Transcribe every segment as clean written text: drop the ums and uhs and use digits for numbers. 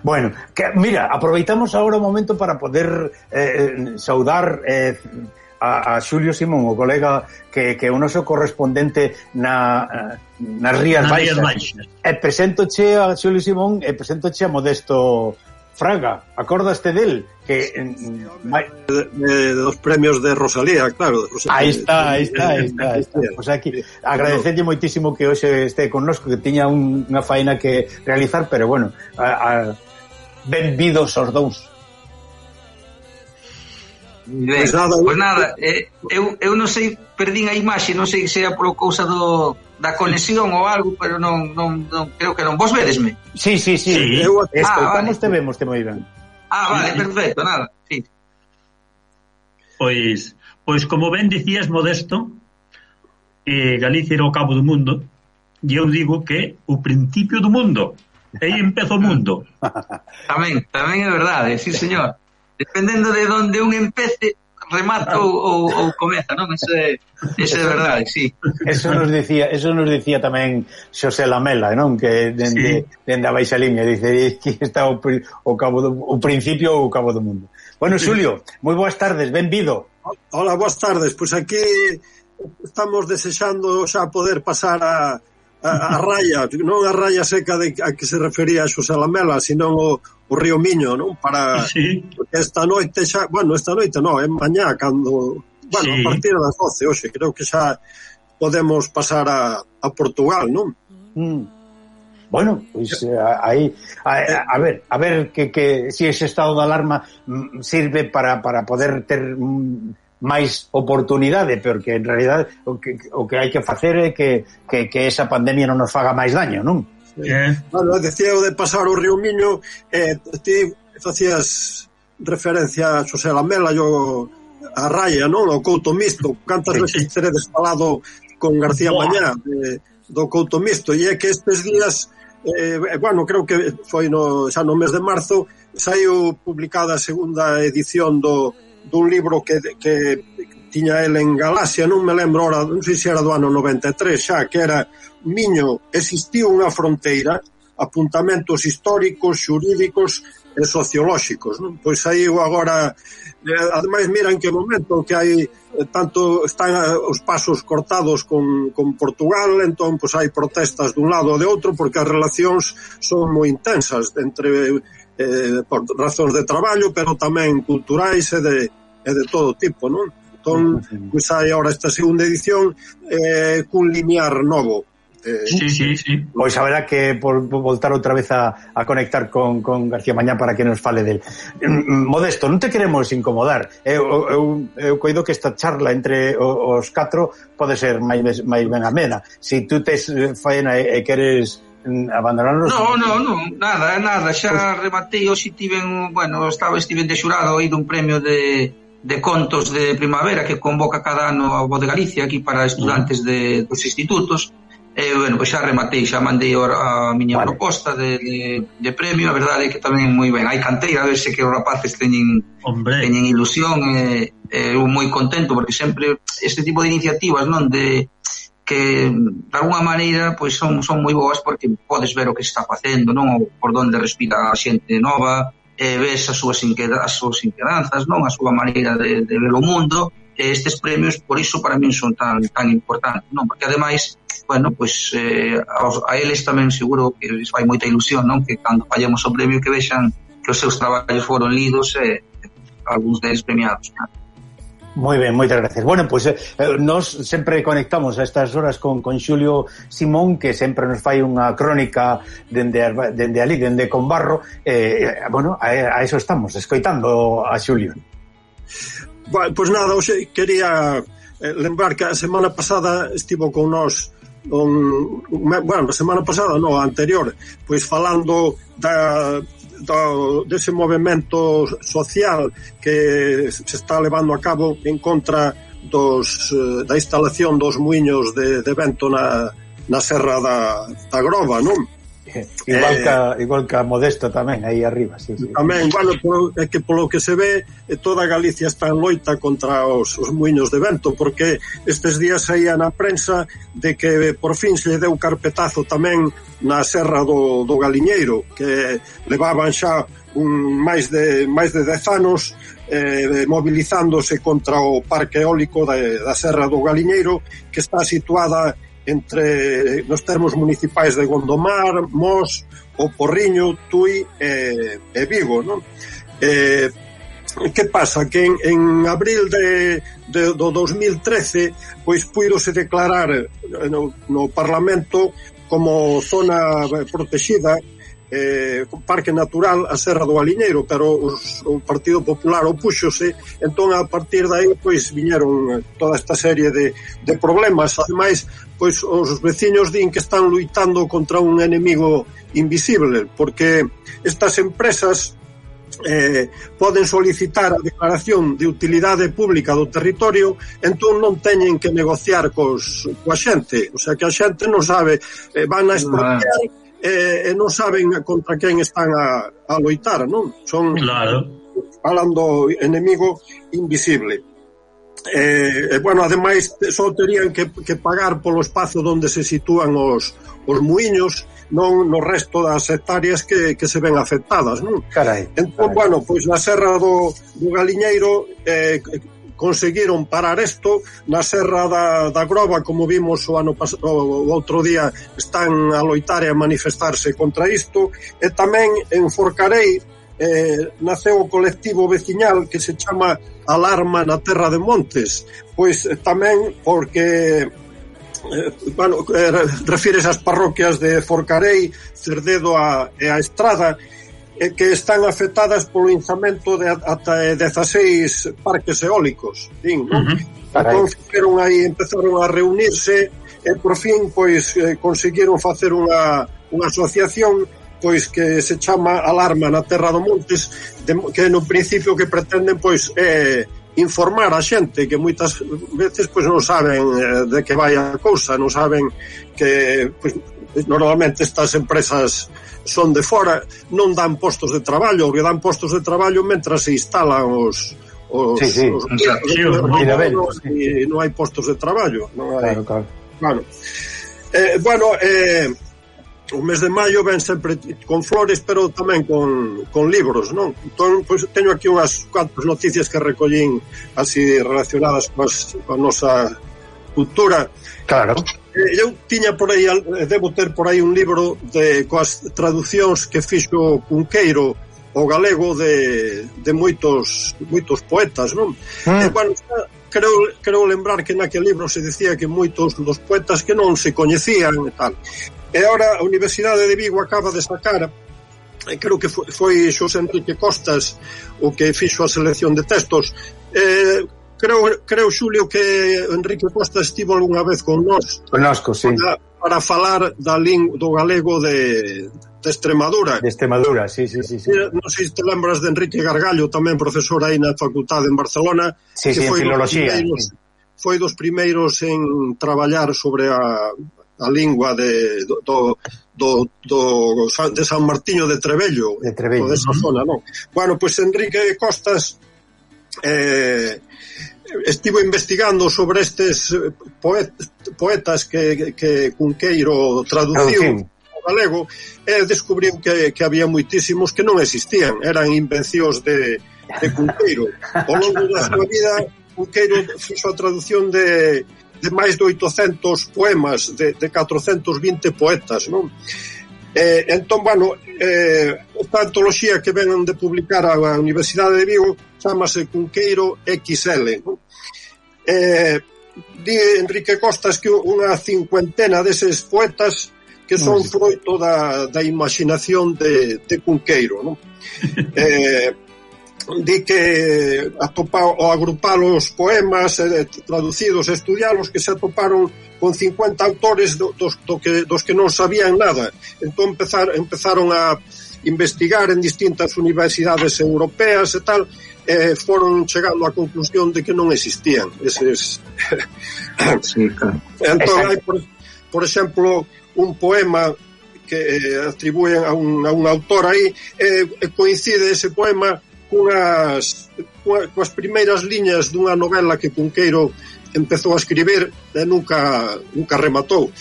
Bueno, mira, aproveitamos agora o momento para poder saudar a Xulio Simón, o colega que é o noso correspondente nas Rías Baixas. E preséntoche a Xulio Simón e preséntoche a Modesto Fraga. Acordaste del? Que dos premios de Rosalía, claro. Aí está. Pois aquí, agradecerlle moitísimo que hoxe este connosco, que tiña unha faena que realizar, pero bueno, benvidos os dous. Ben, pois nada, eu non sei, perdín a imaxe, non sei se é por cousa da conexión ou algo, pero non creo que non. Vos vedesme? Sí. Escoitamos, te vemos, te moi ben. Vale, perfecto, nada, sí. Pois como ben dicías, Modesto, Galicia era o cabo do mundo, e eu digo que o principio do mundo, aí empeza o mundo. Tamén é verdade, sí señor. Dependendo de onde un empece, remata ou comeza, non? Eso é verdade, sí. Eso nos dicía tamén Xosé Lamela, non? Que dende a baixa liña dice que está o principio ou o cabo do mundo. Bueno, Xulio, moi boas tardes, benvido. Hola, boas tardes. Pois aquí estamos desexando xa poder pasar a raya, non a raya seca a que se refería a Xosé Lamela, senón o Río Miño, non? Para esta noite xa, esta noite non, é mañá cando, a partir das 12 hoxe, creo que xa podemos pasar a Portugal, non? Bueno, pois aí a ver que si ese estado de alarma sirve para poder ter máis oportunidade, porque en realidad o que hai que facer é que esa pandemia non nos faga máis daño, non? Bueno, decía o de pasar o Río Miño, ti facías referencia a Xosé Lamela, a raya, non? O Couto Misto, cantas veces teredes falado con García Mañá do Couto Misto, e é que estes días creo que foi xa no mes de marzo, saiu publicada a segunda edición dun libro que tiña el en Galaxia, non me lembro ahora, non sei se era do ano 93 xa, que era Miño, existiu unha fronteira, apuntamentos históricos, xurídicos e sociolóxicos, non? Pois aí agora, ademais mira en que momento que hai tanto están os pasos cortados con Portugal, entón pois hai protestas dun lado ou de outro, porque as relacións son moi intensas entre por razóns de traballo, pero tamén culturais e de todo tipo, non? Entón, pois hai agora esta segunda edición cun linear novo. Sí. Pois haberá que voltar outra vez a conectar con García Mañá para que nos fale del. Modesto, non te queremos incomodar. Eu coido que esta charla entre os catro pode ser máis ben amena. Si tú tes faena e queres abandonarnos... Non, nada, xa rematei hoxe estiven de xurado aí dun premio de contos de primavera que convoca cada ano a Voz de Galicia aquí para estudantes dos institutos. Pois xa rematei, xa mandei a miña proposta de premio. A verdade é que tamén moi ben, hai canteira, a ver se que os rapaces teñen ilusión, eu moi contento porque sempre este tipo de iniciativas, non, de que de alguna maneira pois son moi boas porque podes ver o que se está facendo, non, por onde respira a xente nova, ves as súas inquedanzas, non, a súa maneira de ver o mundo. Estes premios, por iso para min son tan importantes, non, porque ademais a eles tamén seguro que les fai moita ilusión, non, que cando fallemos o premio que vexan que os seus traballos foron lidos e algúns deles premiados, non? Moi ben, moitas gracias. Bueno, pois nos sempre conectamos a estas horas con Xulio Simón, que sempre nos fai unha crónica dende ali, dende Conbarro. A eso estamos, escoitando a Xulio. Pois nada, hoxe quería lembrar que a semana pasada estivo con nós a semana pasada, non, a anterior, pois falando dese movemento social que se está levando a cabo en contra da instalación dos muiños de vento na serra da Grova, non? Igual que a Modesto tamén, aí arriba, sí. Tamén, bueno, é que polo que se ve, toda Galicia está en loita contra os muiños de vento, porque estes días saía na prensa de que por fin se lle deu carpetazo tamén na Serra do Galiñeiro, que levaban xa máis de 10 anos movilizándose contra o parque eólico da Serra do Galiñeiro, que está situada nos termos municipais de Gondomar, Mos, O Porriño, Tui e Vigo, non? Que pasa? Que en abril do 2013 pois puidose declarar no Parlamento como zona protegida, parque natural a Serra do Galiñeiro, pero o Partido Popular opúxose. Entón a partir de aí pois viñeron toda esta serie de problemas. Ademais, pois os veciños din que están luitando contra un enemigo invisible, porque estas empresas poden solicitar a declaración de utilidade pública do territorio, entón non teñen que negociar coa xente, o sea que a xente non sabe, van a expropiar e non saben contra quen están a loitar, non? Son, claro, falando enemigo invisible. Bueno, ademais só terían que pagar polo espazo onde se sitúan os muiños, non no resto das hectáreas que se ven afectadas, non? Entón, bueno, pois na Serra do Galiñeiro conseguiron parar isto. Na Serra da Grova, como vimos o outro día, están a loitar e a manifestarse contra isto. E tamén en Forcarei naceu o colectivo veciñal que se chama Alarma na Terra de Montes, pois tamén porque bueno, refires ás parroquias de Forcarei, Cerdedo e a Estrada, que están afectadas polo inzamento de ata 16 parques eólicos, non? Entón empezaron a reunirse e por fin pois conseguiron facer unha asociación pois que se chama Alarma na Terra do Montes, que no principio que pretenden pois informar a xente que moitas veces pois non saben de que vai a cousa, non saben que pois, normalmente estas empresas son de fora, non dan postos de traballo, porque dan postos de traballo mentras se instalan os e non hai postos de traballo, non hai. Claro. Bueno, o mes de maio ven sempre con flores, pero tamén con libros, non? Entón, pois, teño aquí unhas cuantas noticias que recollín así relacionadas coa nosa cultura. Claro. Eu tiña por aí, debo ter por aí un libro coas traducións que fixo Cunqueiro o galego de moitos poetas, non? Bueno, creo lembrar que naquele libro se decía que moitos dos poetas que non se coñecían e tal. E agora a Universidade de Vigo acaba de sacar, creo que foi Xosé Enrique Costas o que fixo a selección de textos. Creo, Xulio, que Enrique Costas estivo algunha vez con nós para falar do galego de Extremadura. De Extremadura, sí. Non sei se te lembras de Enrique Gargallo, tamén profesor aí na facultade en Barcelona. Sí, en filoloxía. Foi dos primeiros en traballar sobre a lingua de San Martiño de Trebello, desa zona, non? Bueno, pois Enrique Costas estivo investigando sobre estes poetas que Cunqueiro traduciu ao galego e descubriu que había moitísimos que non existían, eran invencións de Cunqueiro. Ao longo da súa vida, Cunqueiro fixo a traducción de máis de 800 poemas, de 420 poetas, non? Entón, bueno, esta antoloxía que ven de publicar a Universidade de Vigo chamase Cunqueiro XL, non? Di Enrique Costas que unha cincuentena deses poetas que son froito da imaginación de Cunqueiro, non? Di que ao agrupar os poemas traducidos e estudialos, que se atoparon con 50 autores dos que non sabían nada. Entón empezaron a investigar en distintas universidades europeas e tal, foron chegando á conclusión de que non existían eses. Entón hai, por exemplo, un poema atribúen a un autor aí, coincide ese poema coas primeiras liñas dunha novela que Cunqueiro empezou a escribir e nunca rematou.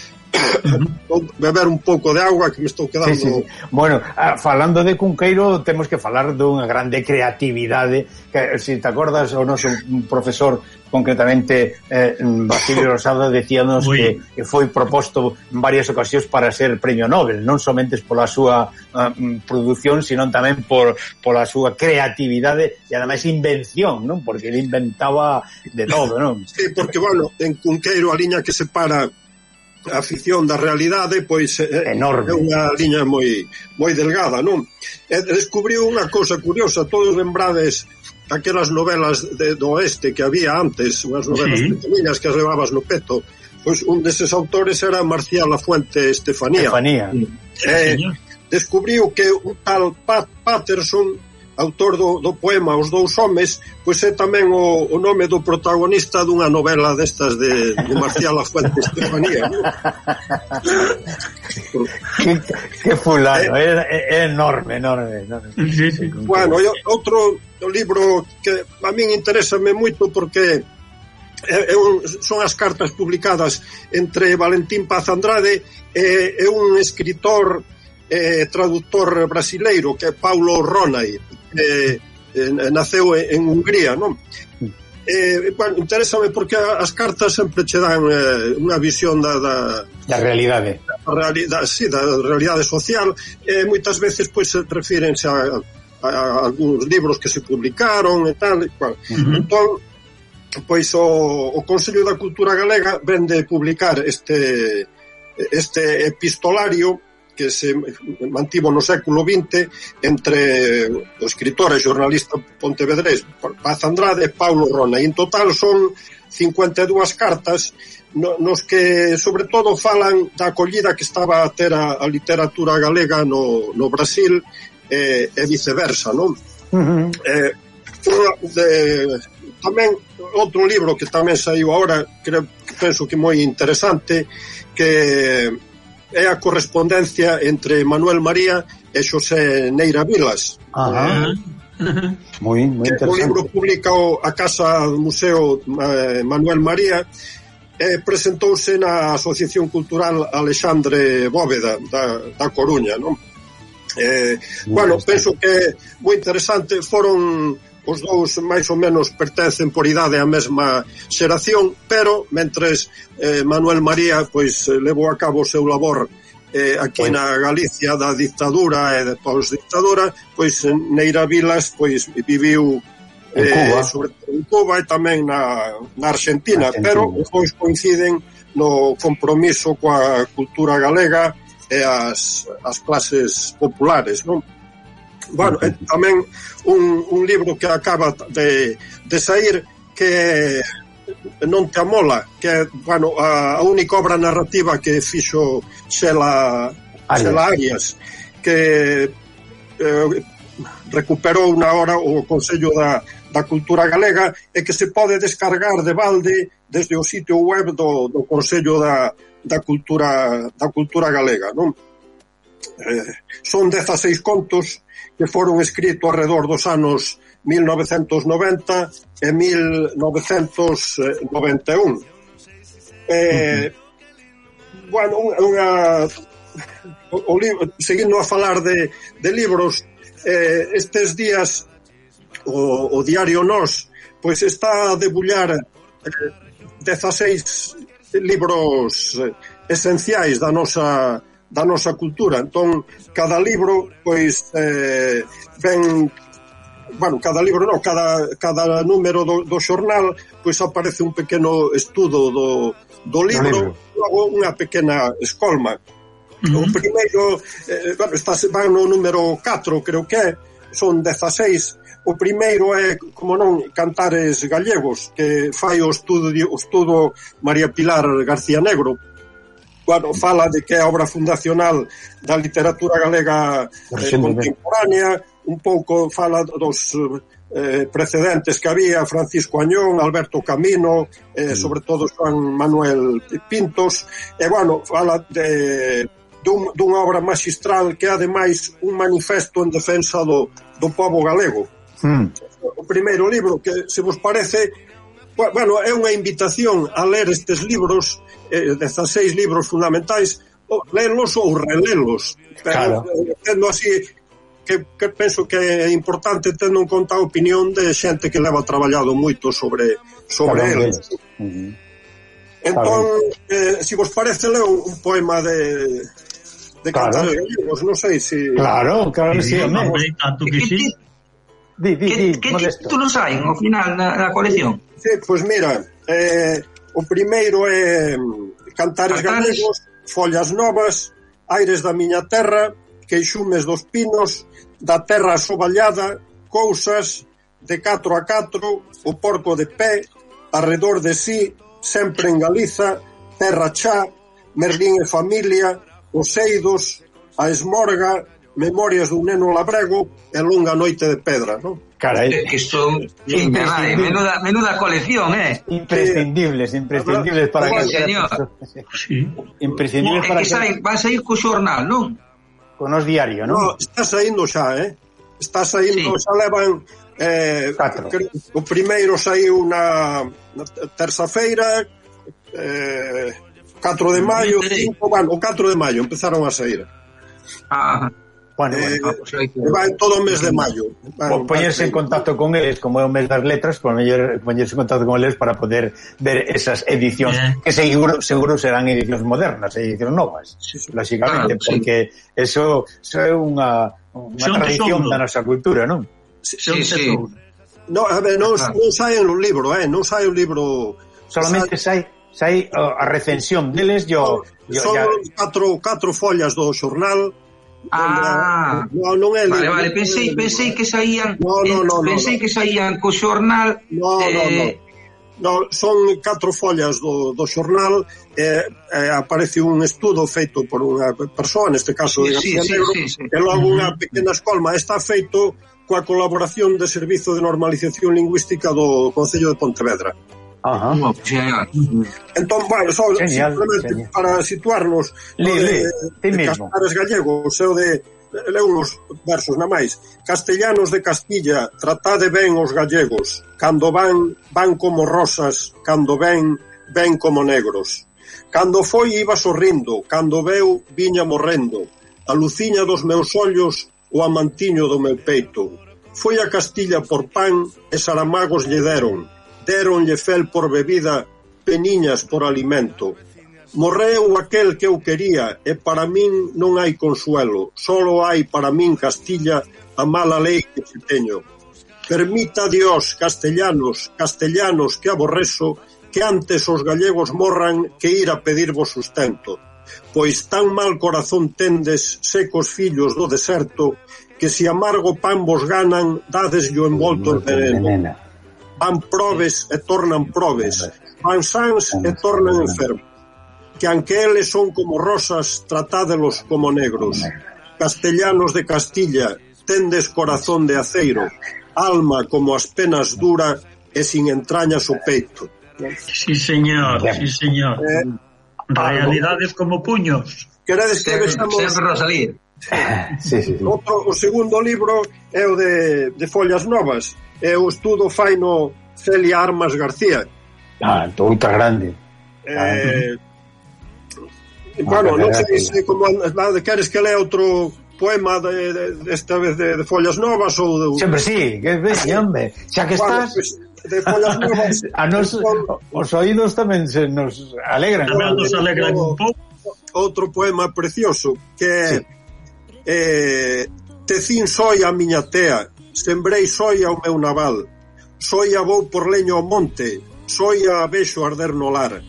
Vou beber un pouco de agua que me estou quedando. Sí. Bueno, falando de Cunqueiro, temos que falar dunha grande creatividade que, se te acordas, o noso profesor, concretamente Basilio Rosado, decíanos que foi proposto en varias ocasións para ser premio Nobel, non somente pola súa produción, sino tamén pola súa creatividade e ademais invención, non? Porque ele inventaba de todo, non? Sí, porque, bueno, en Cunqueiro a liña que separa a ficción da realidade, pois enorme. É unha liña moi delgada, non? Descubriu unha cousa curiosa, todos lembrades aquelas novelas do oeste que había antes, unhas novelas pequeninas que as levabas no peto, pois un deses autores era Marcial Lafuente Estefanía. Descubriu que un tal Patterson, autor do poema Os dous homes, pois é tamén o nome do protagonista dunha novela destas de Marcial Lafuente Estefanía, ¿no? que fulano, é enorme. Sí. Bueno, outro libro que a min interésame moito porque son as cartas publicadas entre Valentín Paz Andrade e un escritor traductor brasileiro que é Paulo Ronay, naceu en Hungría, non? Bueno, interésame porque as cartas sempre che dan unha visión da realidade. Da realidade social, moitas veces pois refírense a algúns libros que se publicaron e tal, entón pois o Consello da Cultura Galega vende publicar este epistolario que se mantivo no século XX entre o escritor e xornalista pontevedrés Paz Andrade e Paulo Ronay. En total son 52 cartas nos que sobre todo falan da acollida que estaba a ter a literatura galega no Brasil e viceversa, non? Tamén outro libro que tamén saiu agora, penso que moi interesante, que é a correspondencia entre Manuel María e Xosé Neira Vilas. Moi interesante. O libro publicou a Casa do Museo Manuel María e presentouse na Asociación Cultural Alexandre Bóveda da Coruña, non? Bueno, penso que moi interesante. Foron os dous máis ou menos pertencen por idade á mesma xeración, pero mentres Manuel María pois levou a cabo o seu labor aquí na Galicia da dictadura e de pós-dictadura, pois Neira Vilas pois viviu en Cuba e tamén na Argentina, pero os dois coinciden no compromiso coa cultura galega e as clases populares, non? Bueno, tamén un libro que acaba de sair que Non te amola, que é, bueno, a única obra narrativa que fixo Xela Arias, que recuperou na hora o Consello da Cultura Galega e que se pode descargar de balde desde o sitio web do Consello da Cultura Galega, non? Son 16 contos que foron escritos alrededor dos anos 1990 e 1991. Bueno, seguindo a falar de libros, estes días o diario Nós pois está a debullar 16 libros esenciais da nosa cultura. Entón, cada libro pois ven, bueno, cada libro non, cada número do xornal pois aparece un pequeno estudo do libro, logo unha pequena escolma. O primeiro, van no número 4, creo que é, son 16. O primeiro é, como non, Cantares Gallegos, que fai o estudo María Pilar García Negro. Bueno, fala de que é a obra fundacional da literatura galega contemporánea, un pouco fala dos precedentes que había, Francisco Añón, Alberto Camino, sobre todo Juan Manuel Pintos, e bueno, fala dunha obra magistral que é ademais un manifesto en defensa do pobo galego. O primeiro libro, que se vos parece, bueno, é unha invitación a ler estes libros, 16 libros fundamentais, lelos ou relelos, pero tendo así que penso que é importante tendo en conta a opinión de xente que leva traballado moito sobre eles. Entón, se vos parece, leo un poema de Cantares Gallegos, non sei se... Claro que sí, tanto que sí. Que títulos hai ao final na colección? Sí, pois mira, o primeiro é Cantares Gallegos, Follas Novas, Aires da miña terra, Queixumes dos pinos, Da terra asovallada, Cousas, De 4 a 4, O porco de pé, Arredor de sí, Sempre en Galiza, Terra chá, Merlín e familia, Os eidos, A esmorga, Memorias dun neno labrego e Longa noite de pedra, non? Carai, que son menuda colección, imprescindibles para señor. Imprescindibles para que vas a ir co xornal, non? Con os diario, non? No, está saindo xa, está saindo, xa levan 4. O primeiro saiu na terça-feira, 4 de maio, 5, bueno, o 4 de maio empezaron a sair. Bueno, vai todo o mes de maio. Poñerse en contacto con eles, como é o mes das letras, poñerse en contacto con eles para poder ver esas edicións, que seguro serán edicións modernas, edicións novas, lógicamente, porque eso é unha tradición da nosa cultura, non? Sí. No, a ver, non sai un libro, non sai un libro. Solamente sai a recensión deles. Son 4 follas do xornal. Non é libro. Vale, pensei que saían. Pensei que saían co xornal. No, son 4 follas do xornal. Aparece un estudo feito por unha persoa, neste caso de García Negro, e logo unha pequena escolma. Está feito coa colaboración de Servizo de Normalización Lingüística do Concello de Pontevedra. Entón, bueno, simplemente para situarnos de Cantares Gallegos, o de leo uns versos na máis. Castellanos de Castilla, tratade ben os gallegos, cando van como rosas, cando ven como negros. Cando foi iba sorrindo, cando veu viña morrendo, a luciña dos meus ollos, o amantiño do meu peito. Foi a Castilla por pan e Saramagos lle deronlle fel por bebida, peniñas por alimento. Morreu aquel que eu quería e para min non hai consuelo, solo hai para min Castilla a mala lei que te teño. Permita Dios, castellanos que aborrezo, que antes os gallegos morran que ir a pedirvos sustento. Pois tan mal corazón tendes, secos fillos do deserto, que si amargo pan vos ganan, dadeslle o envolto en veneno. Van probes e tornan probes, van sans e tornan enfermos. Que aunque eles son como rosas, tratádelos como negros. Castellanos de Castilla, tendes corazón de aceiro, alma como as penas dura e sin entrañas o peito. Sí, señor. Realidades como puños. Queredes que vexamos... Sempre Rosalía. Sí. O segundo libro é o de Follas Novas, é o estudo faino Celia Armas García. Outra grande. Bueno, non sei se como queres que lea outro poema desta vez de Follas Novas ou sempre sí, que ves, hombre, xa que estás de Follas Novas. A nos os oídos tamén se nos alegran. Tamén nos alegran un pouco. Outro poema precioso que é Tecín soia a miña tea, sembrei soia o meu naval, soia vou por leño ao monte, soia a vexo arder no lar.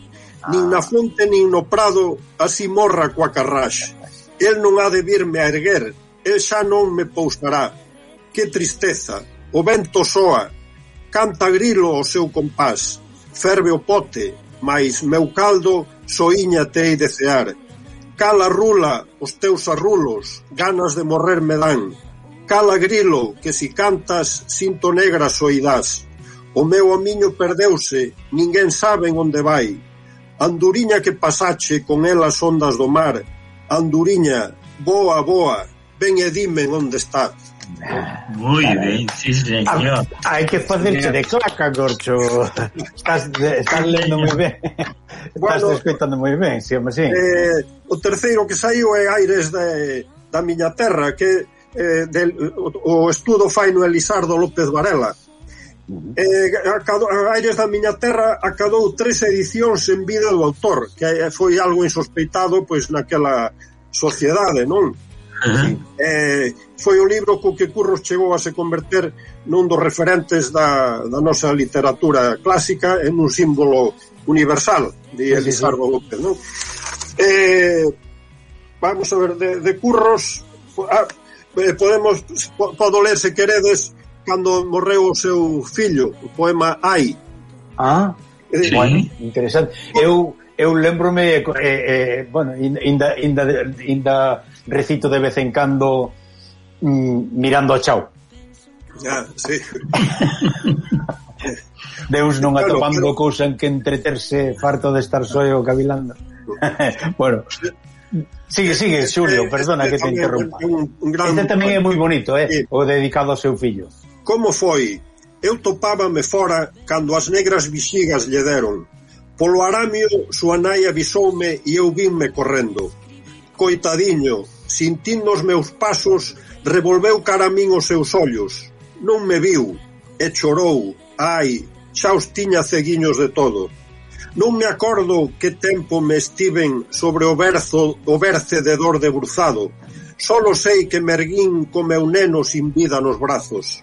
Nin na fonte nin no prado así morra coa carraxe. El non ha de virme a erguer, el xa non me pousará. Que tristeza, o vento soa, canta grilo o seu compás, ferve o pote, mais meu caldo soiña tei de cear. Cala rula os teus arrulos, ganas de morrer me dan. Cala grilo, que si cantas sinto negra soidás. O meu amiño perdeuse, ninguén sabe onde vai. Anduriña que pasache con elas ondas do mar, Anduriña, boa, boa, ven e dime onde está. Moi ben, sí, señor. Hai que facerche de claca, Gorcho. Estás lendo moi ben. Estás escoitando moi ben, sí, home, sí. O terceiro que saiu é Aires da miña terra, que o estudo fai no Elisardo López Varela. Aires da miña terra acadou 3 edicións en vida do autor, que foi algo insospeitado pois naquela sociedade, non? Foi o libro co que Curros chegou a se converter nun dos referentes da nosa literatura clásica en un símbolo universal de Elisardo López, non? Vamos a ver, de Curros podo ler, se queredes, cando morreu o seu fillo, o poema Ai. Sí. Bueno, interesante. Eu lembrome, bueno, inda recito de vez en cando mirando a Chao. Sí. Deus non atopando cousa en que entreterse, farto de estar só o cavilando. Bueno, sigue, Xulio, perdona que te interrompa. Este tamén é moi bonito, o dedicado ao seu fillo. Como foi? Eu topábame fora cando as negras vixigas lle deron. Polo aramio, súa nai avisoume e eu vinme correndo. Coitadiño, sintindo os meus pasos, revolveu cara a min os seus ollos. Non me viu, e chorou. Ai, xa os tiña ceguiños de todo. Non me acordo que tempo me estiven sobre o berce de dor debruzado. Solo sei que me erguín co meu neno sin vida nos brazos.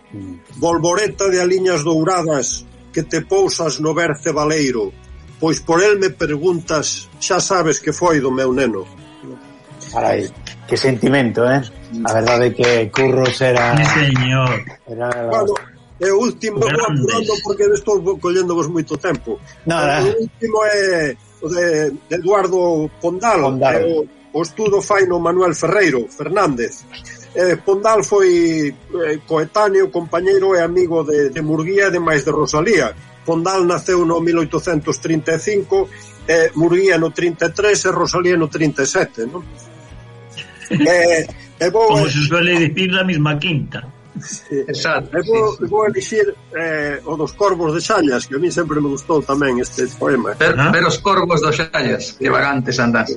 Volvoreta de aliñas douradas que te pousas no berce baleiro, pois por el me preguntas, xa sabes que foi do meu neno. Carai, que sentimento, A verdade é que Curros era... Señor. Bueno, e o último, vou apurando porque estou colléndovos moito tempo. O último é o de Eduardo Pondal. O estudo fai no Manuel Fernández. Pondal foi coetáneo, compañeiro e amigo de Murguía e demais de Rosalía. Pondal naceu no 1835, Murguía no 33 e Rosalía no 37, non? Como se suele decir la misma quinta. Exacto. Vou elixir o dos Corvos de Xallas, que a mí sempre me gustou tamén este poema. Pero os Corvos de Xallas, que vagantes andás.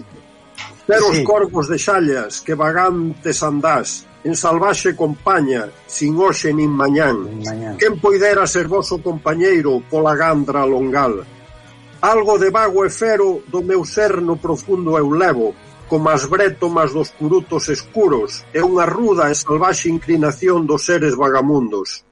Pero os Corvos de Xallas, que vagantes andás, en salvaxe compaña, sin hoxe nin mañán. Quen poidera ser voso compañeiro pola gandra longal? Algo de vago e fero do meu ser no profundo eu levo, como as brétomas dos curutos escuros e unha ruda e salvaxe inclinación dos seres vagamundos.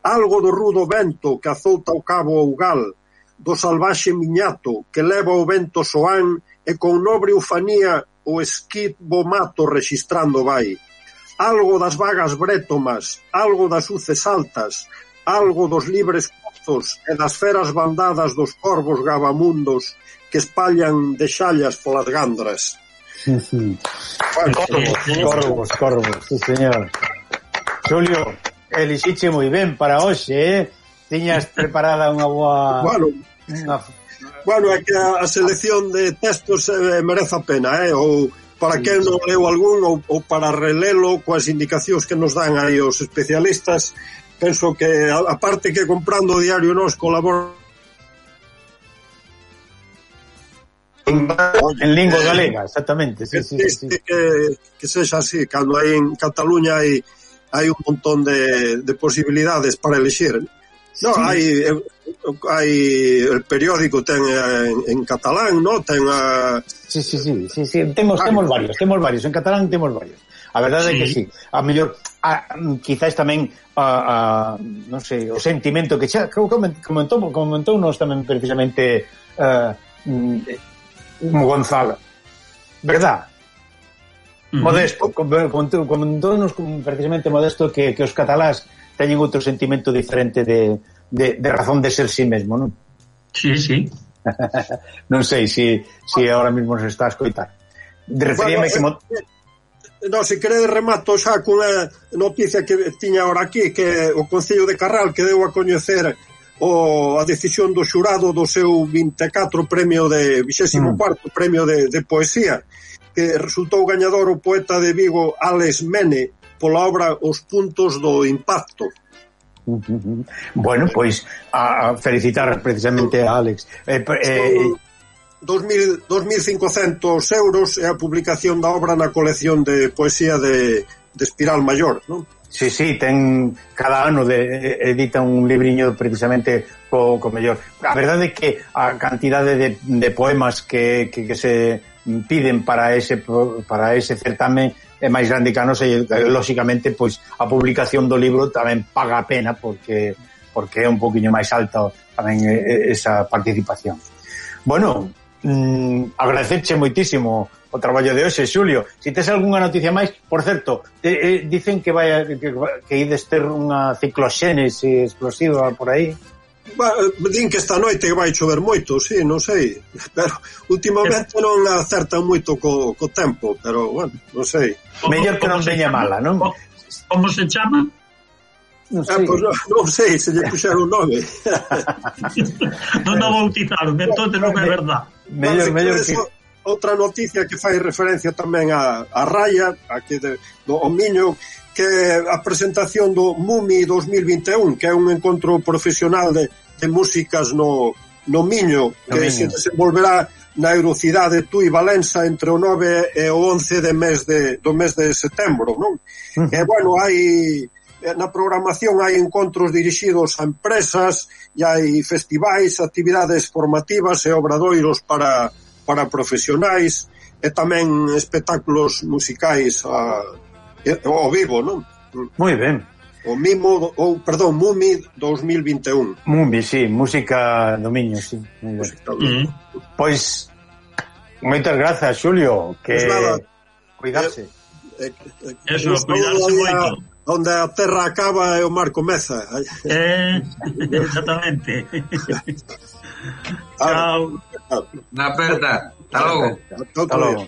Algo do rudo vento que azouta o cabo Ougal, do salvaxe miñato que leva o vento soán e con nobre ufanía o esquivo mato rexistrando vai. Algo das vagas brétomas, algo das uces altas, algo dos libres pozos e das feras bandadas dos corvos gabamundos que espallan de xallas polas gandras. Corvos, sí, señor. Xulio, elixiche moi ben para hoxe, Tiñas preparada unha boa... Bueno, é que a selección de textos merece a pena, ou para quen non leu algún ou para relelo coas indicacións que nos dan aí os especialistas. Penso que, aparte que comprando o Diario Nós colabora en lingua galega, exactamente. Sí. Que sexa así, cando hai en Cataluña hai un montón de posibilidades para elixir. No, hai el periódico ten en catalán, no? Ten a... Sí. Temos varios, en catalán temos varios. A verdade é que sí. A mellor, quizás tamén non sei, o sentimento que xa comentou nos tamén precisamente Gonzalo. Verdad? Modesto, comentou-nos precisamente Modesto que os catalás teñen outro sentimento diferente de razón de ser sí mesmo, non? Sí. Non sei se ahora mesmo se está a escoitar. Referíame que... No, se queredes remato xa cunha noticia que tiña ahora aquí, que o Concello de Carral que deu a coñecer a decisión do xurado do seu 24 premio de 24º premio de poesía. que resultou gañador o poeta de Vigo Alex Mene pola obra Os puntos do impacto. Bueno, pois a felicitar precisamente a Alex. 2.500 euros é a publicación da obra na colección de poesía de Espiral Maior, non? Sí, ten cada ano edita un libriño precisamente co mellor. A verdade é que a cantidade de poemas que se piden para ese certamen é máis grande que a nosa e, lóxicamente, pois a publicación do libro tamén paga a pena porque é un poquinho máis alta tamén esa participación. Bueno, agradecerche moitísimo o traballo de hoxe, Xulio. Si tes algunha noticia máis, por certo, dicen que ides ter unha cicloxénese explosiva por aí. Din que esta noite vai chover moito, sí, non sei, pero últimamente non acertan moito co tempo, pero, bueno, non sei. Mellor que non veña mala, non? Como se chama? Non sei. Pues non sei, se lle puxeron nome. Non o bautizaron, entón non é verdad. Mellor que... Outra noticia que fai referencia tamén a Raya, aquí do Miño, que a presentación do MUMI 2021, que é un encontro profesional de músicas no Miño, que se desenvolverá na Eurocidade Tui Valença entre o 9 e o 11 do mes de setembro, non? E, bueno, na programación hai encontros dirixidos a empresas e hai festivais, actividades formativas e obradoiros para profesionais e tamén espectáculos musicais ao vivo, non? Moi ben. MUMI 2021. MUMI, sí, música do Miño, sí. Pois moitas grazas, Xulio, que cuidarse. Eso, cuidarse moito. Onde a terra acaba e o mar comeza. Exactamente. Chao. Na aperta. Hasta logo. Hasta logo.